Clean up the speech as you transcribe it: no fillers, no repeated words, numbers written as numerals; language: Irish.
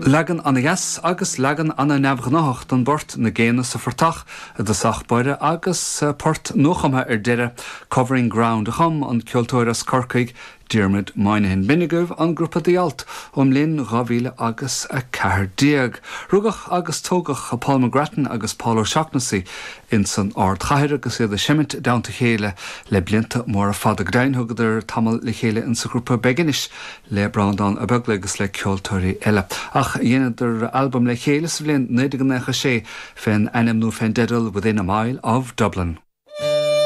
Leagan ana-dheas agus leagan ana-neamhghnáthach den bport 'Na Géanna sa Phortach' i dtosach báire agus port nuachumtha ar deireadh, 'Covering Ground' a chum an ceoltóir as Corcaigh, Diarmuid Moynihan. B'in agaibh an grúpa The Alt ón mbliain 2000 agus 14. Rugadh agus tógadh Paul McGrattan agus Paul O'Shaughnessy ins an ardchathair agus iad ag seimint i dteannta a chéile le blianta móra fada. Go deimhin thugadar tamall le chéile insa ghrúpa Beginish le Breandán Ó Beaglaoich agus le ceoltóirí eile. Ach dheineadar albam le chéile sa bhliain 1996 fén ainm nó fén dteideal Within a Mile of Dublin.